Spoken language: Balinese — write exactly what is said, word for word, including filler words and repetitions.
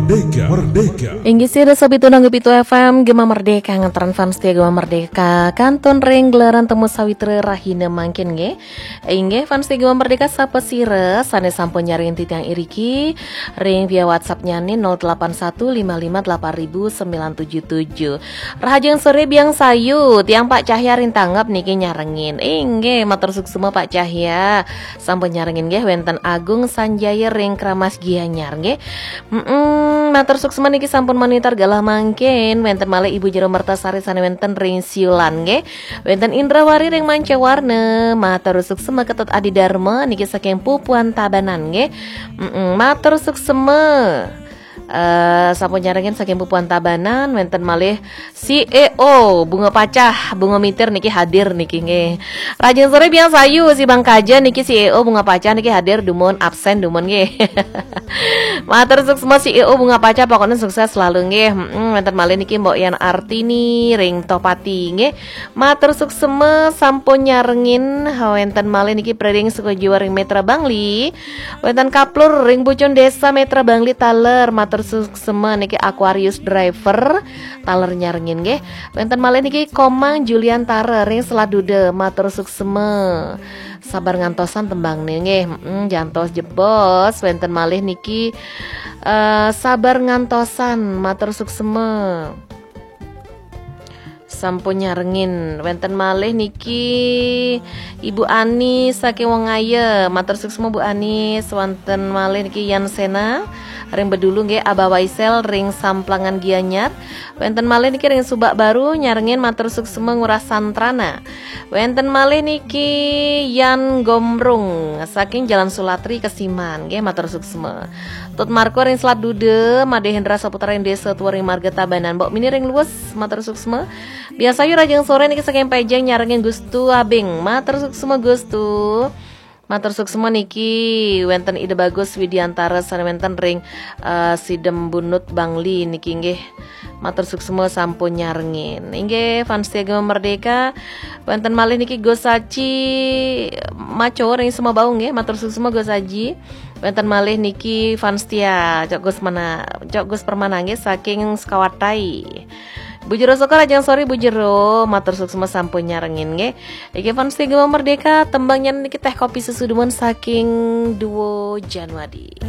Merdeka, Merdeka. Inggih sira sobi tunang pitu F M Gema Merdeka, ngantaran fans setia Gema Merdeka kantun ring gelaran Temu Sawitra rahina mangkin nggih. Inggih fans setia Gema Merdeka, sapa sira sane sampun nyarengin titiang iriki ring via WhatsApp-nyane nol delapan satu lima lima delapan ribu sembilan tujuh tujuh. Rahajeng sore Biang Sayu, tiang Pak Cahya ring Tanggap niki nyarengin. Inggih matur suksma Pak Cahya. Sampun nyarengin nggih, wenten Agung Sanjaya ring Kramas Gianyar nggih. Mm-mm, matur suksma niki sampun monitor galah mangkin. Wenten malih Ibu Jero Mertasari sane wenten ring Siulan nggih. Wenten Indrawari ring Mancawarna, matur suksma. Ketut Adi Dharma niki saking Pupuan Tabanan nggih. Mm-mm, matur suksma. Eh, sampun nyarengin saking Pupuan Tabanan, wenten malih C E O Bunga Pacah, Bunga Mitir niki hadir niki nggih. Rahajeng sore Biang Sayu, si Bang Kaja niki C E O Bunga Pacah niki hadir, dumun absen dumun nggih. Matur suksma C E O Bunga Pacah, pokoknya sukses selalu nggih. Mm-mm, wenten malih niki Mbok Yan Artini ring Tohpati nggih. Matur suksma sampun nyarengin, wenten malih niki Preding Sukojiwa ring Metra Bangli. Wenten Kaplur ring Bucun Desa Metra Bangli taler, matur suksma niki Aquarius Driver taler nyarengin nggih. Wenten malih niki Komang Julian Tara ring Selat Duda, matur suksma. Sabar ngantosan tembangne nggih. Mm, jantos jebos. Wenten malih niki eh, sabar ngantosan, matur suksma. Sampun nyarengin. Wenten malih niki Ibu Ani saking Wongaya, matur suksma Bu Ani. Wenten malih niki Yan Sena ring Bedulu nggih, Abah Waisel ring Samplangan Gianyar. Wenten malih niki ring Subak Baru nyarengin, matur suksma Ngurah Santrana. Wenten malih niki Yan Gombrung saking Jalan Sulatri Kesiman nggih, matur suksma. Tut Marko ring Selat Duda, Made Hendra Saputra ring Desa Tua ring Marga Tabanan. Mbok Mini ring Luwes, matur suksma. Biang Sayu, rahajeng sore niki saking Pejeng nyarengin Gustu Abing. Matur suksma Gustu. Matur suksma niki wenten Ida Bagus Widiantara sane wenten ring eh, Sidem Bunut Bangli niki nggih. Matur suksma sampun nyarengin. Inggih fans setia Gema Merdeka, wenten malih niki Gus Aji Maco ring Sumabau nggih. Matur suksma Gus Aji. Wenten malih niki fans setia Cok Gus Mana, Cok Gus Permana nggih saking Sekawatai. Bu Jero Sokor, rahajeng sore Bu Jero, matur suksma sampun nyarengin nggih. Iki fans setia Gema Merdeka, tembangnya niki Teh Kopi Susu Dumun saking Duo Janwadi.